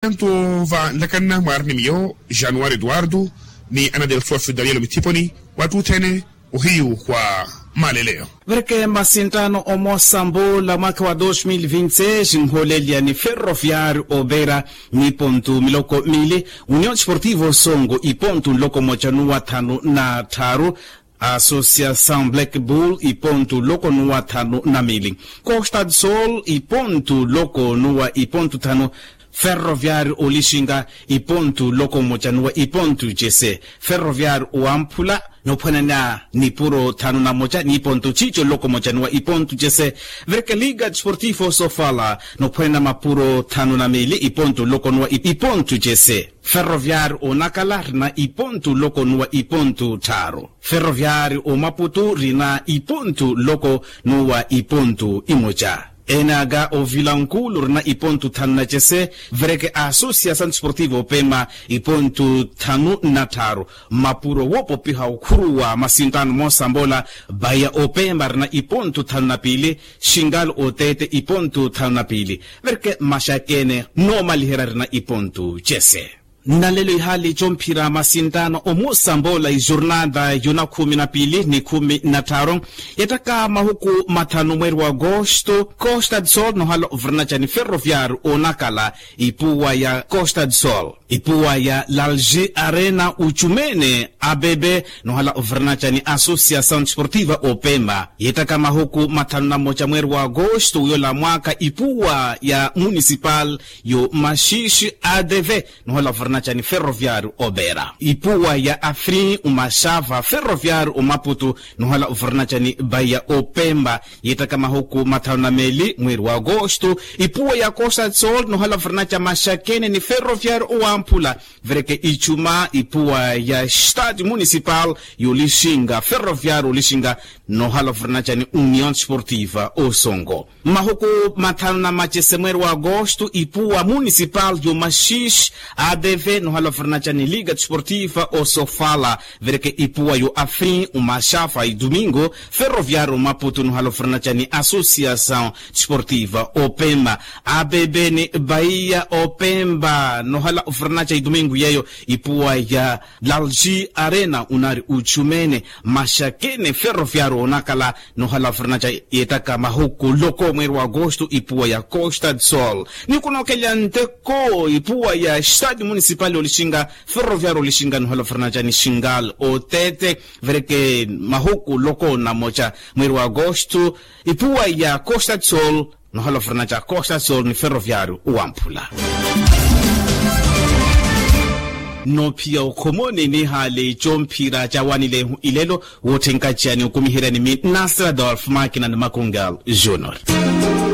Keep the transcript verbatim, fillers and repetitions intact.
Antu va nlakanna mwaari ni miyo januari eduardo ni ana del sofi daniel mithiponi wattuthene ohiyu wa maleleyo. Vereke masinttano omosa mbola mwaka wa dos mil vinti seis nholelya ni ferroviario opera ni pontu miloko mili, union sportivo songo ipontu nloko moca nuwa thanu na tharu, associação black bull ipontu loko nuwa thanu na mili, costa de sol ipontu loko nuwa ipontu thanu, ferroviario olixinga ipontu loko moca nuwa ipontu cese, ferroviario owamphula nophwanana nipuro thanu na moca ni ipontu cico loko moca nuwa ipontu cese, vereke liga desportivo sofala nophwanana mapuro thanu na mili ipontu loko nuwa ipontu cese, ferroviario onakala rina ipontu loko nuwa ipontu tharu, ferroviario omaputu rina ipontu loko nuwa ipontu imoca, enaka ovilankulu rina ipontu thanu na cese, vereke associação desportivo opema ipontu thanu na tharu, mapuro wopopiha okhuruwa masinttano mosa mbola, baya opema rina ipontu thanu na pili, xingal otete ipontu thanu na pili, vereke maxakene noomaliherya rina ipontu cese. Nnalelo ihaali comphira masinttano omosa mbola ijornada yona khumi na pili ni khumi na tharu, yettaka mahuku mathanu mweeri wa agosto costa de sol nohala oviranaca ni ferroviario onakala ipuwa ya costa de sol, ipuwa ya lalji arena ucumene abebe nohala oviranaca ni associação desportiva opema, yettaka mahuku mathanu na moca mweeri wa agosto wiyola mwaka ipuwa ya municipal yo maxiixi adv nohala oviranaca ni ferroviario opera, ipuwa ya afrin umaxava ferroviario omaputu nohala oviranaca ni baya opemba, yettaka mahuku mathanu na meli mweeri wa agosto ipuwa ya costa de sol nohala oviranaca maxakene ni ferroviario owamphula, vereke icuma ipuwa ya stadio municipal yolixinga ferroviario olixinga nohala oviranaca ni union desportiva osongo, mahuku mathanu na macese mweeri wa agosto ipuwa municipal yo maxiixi adv nohala oviranaca ni liga desportiva osofala, vereke ipuwa yo afrin umaxafa idumingo ferroviario omaputu nohala oviranaca ni associação desportiva opema, abebe ni baiya opemba nohala oviranaca idumingo yeyo ipuwa ya lalji arena unari uchumene maxakene ferroviario onakala nohala oviranaca yettaka mahuku loko mweeri wa agosto ipuwa ya costa de sol, ni kunookelya nteko ipuwa ya stadio municipal olixinga ferroviario olixinga nohala oviranaca ni xingal otete, vereke mahuku loko na moca mweeri wa agosto ipuwa ya costa de sol nohala oviranaca costa de sol ni ferroviario owamphula. Noophiya okhomoni nihaali comphira cawanilehu ilelo wootthenkacani okumiheryani mi nasradolf makina ni makungal junior.